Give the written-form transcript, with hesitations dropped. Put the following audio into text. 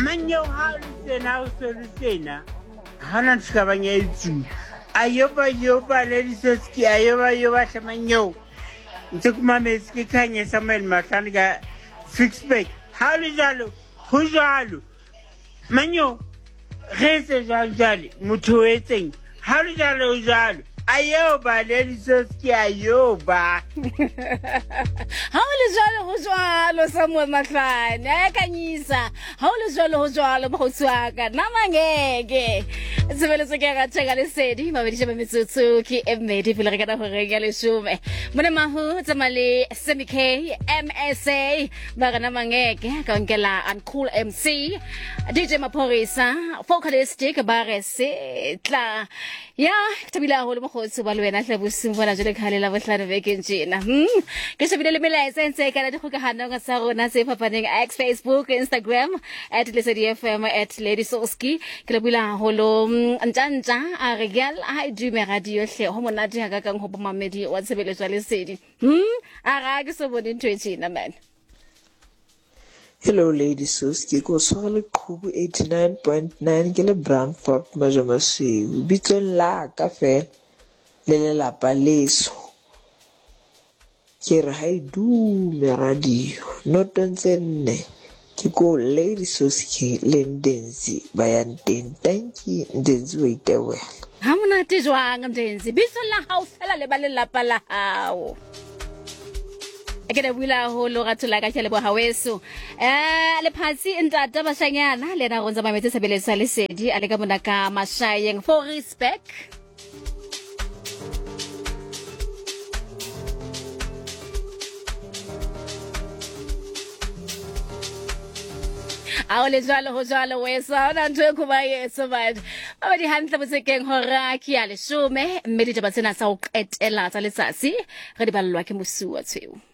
Manyeo ha o le tjena o se le tjena ha ona ntho ka bang ya etsuwa. Ayoba yoba Lady Soski ayoba yoba hle manyeo. Ntse ke mametse ke Khanye Samuel Mahlane ka Ficksburg. Ha o le jwalo ho jwalo. Manyo re etse jwang jwale motho o etseng ha le jwalo o jwalo a ba le disoski a yo ba ha o le jwalo ho jwalo samuel mahlane a kanyisa ha o le jwalo ho jwalo mokgotsi wa ka nna mangeke tshebeletso ke ya ratšheka lesedi mabedi ba metsotso ke e mmedi pele re kana goreng ya leshome mone mahu tsamaya le semi k msa ba rena mangeke ka nkela uncool mc dj maphorisa focalistic ba re setla ya ke thabile haholo mokgotsi ba le wena hle bosing bona jwale ka le la bohlano bekeng tjena. Ke shebile le melaetsa e ntse e kana dikgokahanong tsa rona tse fapaneng x facebook instagram at lesedi fm at lady soski. Ke lebohile haholo. Ntjantja a re girl ha e dume radio hle ho monate hakakang ho bomamedi wa tshebeletso ya lesedi. A ga ke so bone ntho e tjena man. Hello Lady Soski, ke o tshwere leqhubu 89.9 ke le Brandfort Majomasweu. Bitsong la ka fela le lelapa leso. Ke re ha e dume radio notong tse nne ke ko Lady Soski le Ndenzi ba yang teng. Tanki Ndenzi wa itebohela. Ha monate jwang Ndenzi, bitso la hao fela le ba lelapa la hao. Ke lebohile haholo ratho la ka ke a leboha weso. Lephatsi ntata bashanyana le yena go ntse mametse tshebeletso ya lesedi a le ka mona ka Mashayeng for respect. A o le jwalo ho jwalo weso, ha hona ntho e khuba yeso batho. Ba di hantle botsekeng hora ke ya leshome, mme ditaba tsena tsa ho qetela tsa letsatsi re di ballwa ke Mosuwa Tshweu.